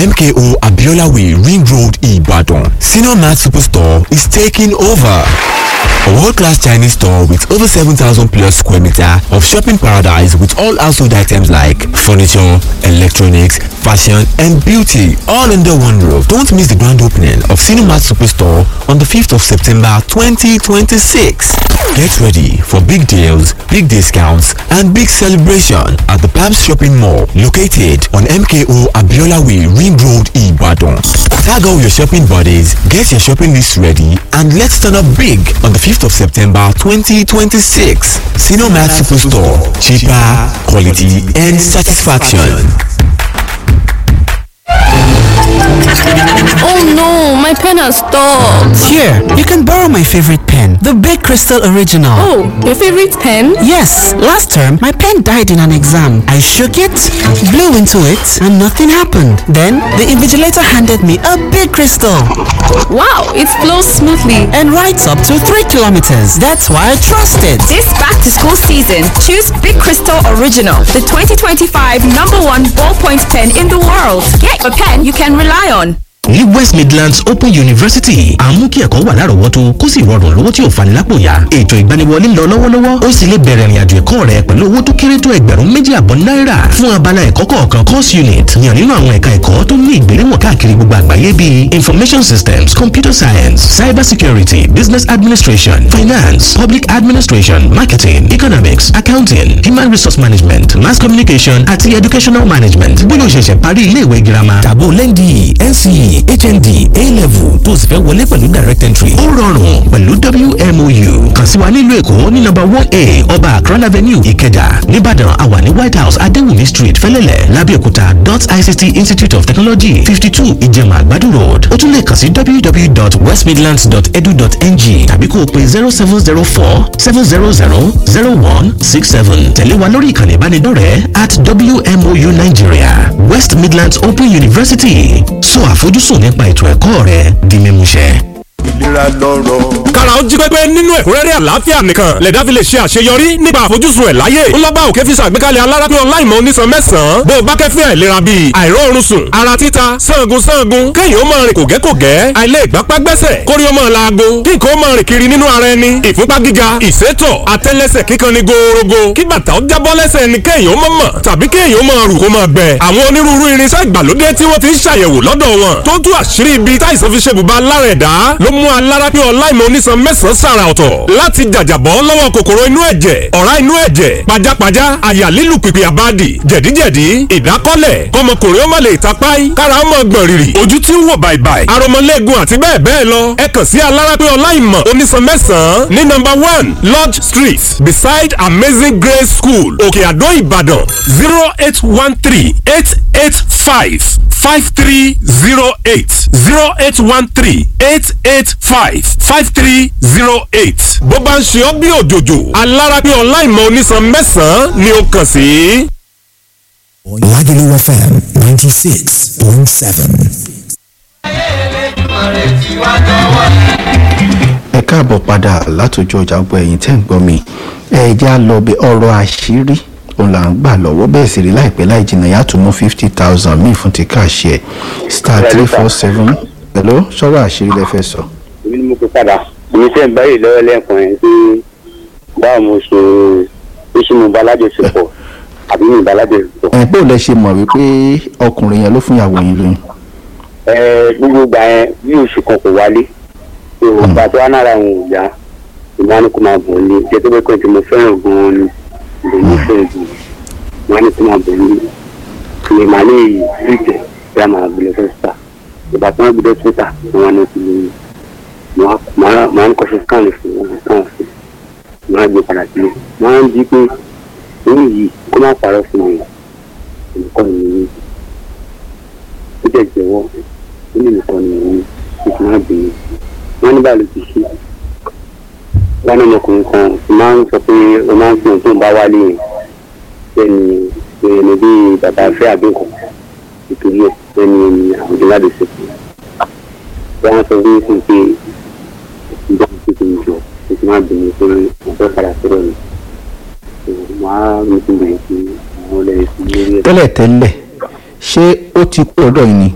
MKO Abiola Way, Ring Road, Ibadan. Senior Mart Superstore is taking over. A world-class Chinese store with over 7,000 plus square meter of shopping paradise with all household items like furniture, electronics, fashion and beauty all under one roof. Don't miss the grand opening of Cinemat Superstore on the 5th of September 2026. Get ready for big deals, big discounts and big celebration at the Palms Shopping Mall located on MKO Abiola Way, Ring Road, Ibadan. Tag all your shopping buddies, get your shopping list ready and let's turn up big on the 5th of September 2026. Cinemat Superstore. Cheaper, quality and satisfaction. Oh no, my pen has stopped. Here, you can borrow my favorite pen, the Big Crystal Original. Oh, your favorite pen? Yes, last term my pen died in an exam. I shook it, blew into it, and nothing happened. Then the invigilator handed me a big crystal. Wow, it flows smoothly and writes up to 3 kilometers. That's why I trust it. This back to school season, choose Big Crystal Original, the 2025 number one ballpoint pen in the world. Get a pen you can rely on. Ní West Midlands Open University, àmú kí ẹ̀kọ́ wà lárọ̀ọ́wọ́tó kó sì rọrùn lówó tí ò fani lápò yá. Ètò ìgbaniwọlé ń lọ lọ́wọ́lọ́wọ́, ó sì lè bẹ̀rẹ̀ ìrìnàjò ẹ̀kọ́ rẹ pẹ̀lú owó tó kéré tó 2,500 náírà fún abala ẹ̀kọ́ kọ̀ọ̀kan course unit. Yàn nínú àwọn ẹ̀ka ẹ̀kọ́ tó ní ìgbéléwọ̀n káàkiri gbogbo àgbáyé bíi information systems, computer science, cyber security, business administration, finance, public administration, marketing, economics, accounting, human resource management, mass communication àti educational management. Bóyá o ṣẹ̀ṣẹ̀ parí ilé ìwé girama tàbó lẹ́ndì NCE, HND, A-level tó sì fẹ́ wọlé pẹ̀lú direct entry. Ó rọrùn pẹ̀lú WMOU. Kàn sí wa nílùú Èkó ní nọ́mbà 1A Ọba Akran Avenue, Ìkẹjà, Nìbàdàn, àwa ní White House Adéwùmí Street, Fẹ́lẹ́lẹ̀, Lábẹ́òkúta dot ICT Institute of Technology, 52 Ìjẹ̀mà Àgbàdo Road. Ó tún lè kàn sí www.westmidlands.edu.ng tàbí kó o pe 0704 700 0167. Tẹ̀lé wa lórí ìkànnì ìbánidọ́rẹ̀ẹ́ at WMOU Nigeria, West Midlands Open University. Sọ àfojúsùn nípa ètò ẹ̀kọ́ rẹ di mímúṣẹ. Ìlera lọ́rọ̀. Kára ó jí pépé nínú ẹ̀kúnrẹ́rẹ́ àlàáfíà nìkan lẹ̀dá fi lè ṣe àṣeyọrí nípa àfojúsùn ẹ̀ láyé. Ńlọ́ba òkè fi ṣàgbékalẹ̀ alárápín ọláìmọ̀ onísan mẹ́sàn-án bó o bá kẹ́fín àìlera bíi àìróorun sùn, ara títa, sangun sangun, kéèyàn ó máa rìn kògẹ́kògẹ́, àìlè ìgbápá gbẹ́sẹ̀, kórí ó máa laago, kí nǹkan ó máa rìn kiri nínú ara ẹni, ìfúnpá gíga, ìsétọ̀, àtẹ́lẹsẹ̀ kíkan ni gòòrògò, kí bàtà ó jábọ́ lẹ́sẹ̀ ni kéèyàn ó máa mọ̀ tàbí kéèyàn ó máa rù kó máa gbẹ. Àwọn onírúurú irinṣẹ́ ìgbàlódé tí wọ́n ti ń ṣàyẹ̀wò lọ́dọ̀ wọn tó tú àṣírí ibi táìsàn fi ṣe bùbá lára ẹ̀dá ló mú alárápín ọláìmọ̀ onísan mẹ́sàn-án sàrà ọ̀tọ̀ láti jàjàbọ́ lọ́wọ́ kòkòrò inú ẹ̀jẹ̀, ọ̀rá inú ẹ̀jẹ̀, pajápajá, àyà lílù pìpì àbádì, jẹ̀díjẹ̀dí, ìdákọ́lẹ̀, kọmọkùnrin ó má lè tapáì, kára ó mọ̀ gbọ̀n rìrì, ojú tí ń wò bàìbàì, aromọlẹ́gun àti bẹ́ẹ̀ bẹ́ẹ̀ lọ. Ẹ kàn sí alárápín ọláìmọ̀ onísan mẹ́sàn-án ní nọ́mbà 1 Lodge Street, beside Amazing Grace School, Òkè Àdó, Ìbàdàn, 0813 885 5308, 0813 885 5308. Bó bá ń ṣe ọ́ bí òjòjò, alárápín ọláìmọ̀ onísan mẹ́sàn-án ni ó kàn sí. Lagelu FM 96.7. Ẹ káàbọ̀ padà látòjú ọjà. Gbọ́ ẹ̀yin tẹ́ ń gbọ́ mi, ẹ jẹ́ á lọ bẹ ọ̀rọ̀ àṣírí òun là ń gbà lọ́wọ́. Bẹ́ẹ̀ sì rí láìpẹ́ láì jìnnà yàtọ̀ mú 50,000 míì fún ti káàṣì ẹ̀ *347. Hello, sọ̀rọ̀ àṣírí lẹ fẹ́ sọ. Èmi ni mo kó padà. Èmi tẹ́ ń báyìí lọ́wọ́ lẹ́ẹ̀kan yẹn pé báwo mo ṣe ó ṣe mo bá alájọṣepọ̀ àbí mi bá alájọṣepọ̀. Ẹ bó lẹ ṣe mọ̀ wípé ọkùnrin yẹn ló fún ìyàwó yín lóyún? Ẹ gbogbo ìgbà yẹn bí oṣù kan kò wálé, ìgbà tó wá nára òun ò yá, ìmọ̀ ni kò máa bọ̀ ní jẹ́ tó bẹ́ẹ̀ kọ́ tí mo fẹ́ràn gan-an ni mo fẹ́ràn gan-an, ìmọ̀ ni kò máa bọ̀ ní ìlè màá lè rí ìtẹ̀ bí a máa gbé lọ sọ́sítà. Ìgbà tí wọ́n gbé lọ sọ́sítà wọn ni ti màá ń kọ́ṣe scan fún wọn, scan fún màá gbé padà sílé. Màá ń di pé òun yìí kó má parọ́ fún mi, olùkọ́ mi ní ó jẹ́ jẹ́wọ́, ó ní olùkọ́ mi ní ó ti má bínú. Wọ́n ní báyìí ló ti ṣe wọ́n ní ọmọkùnrin kan tí máa ń sọ pé ó máa ń fi ohun tó ń bá wálé yẹn bẹ́ẹ̀ni ẹni bí bàbá fẹ́ àbí nǹkan nítorí ẹ̀ bẹ́ẹ̀ni ẹni àwọn ìjọba lè ṣe fún un. Wọ́n sọ fún mi pé ìjọba ti ti jọ ó ti má bínú pé wọ́n fẹ́ padà sọ́dọ̀ mi, wọ́n á mi ti bẹ̀rẹ̀ sí àwọn ọlẹ́rìí sí lórí ẹ̀. Tẹ́lẹ̀tẹ́lẹ̀, ṣé ó ti kú ọ̀dọ̀ yìí ni?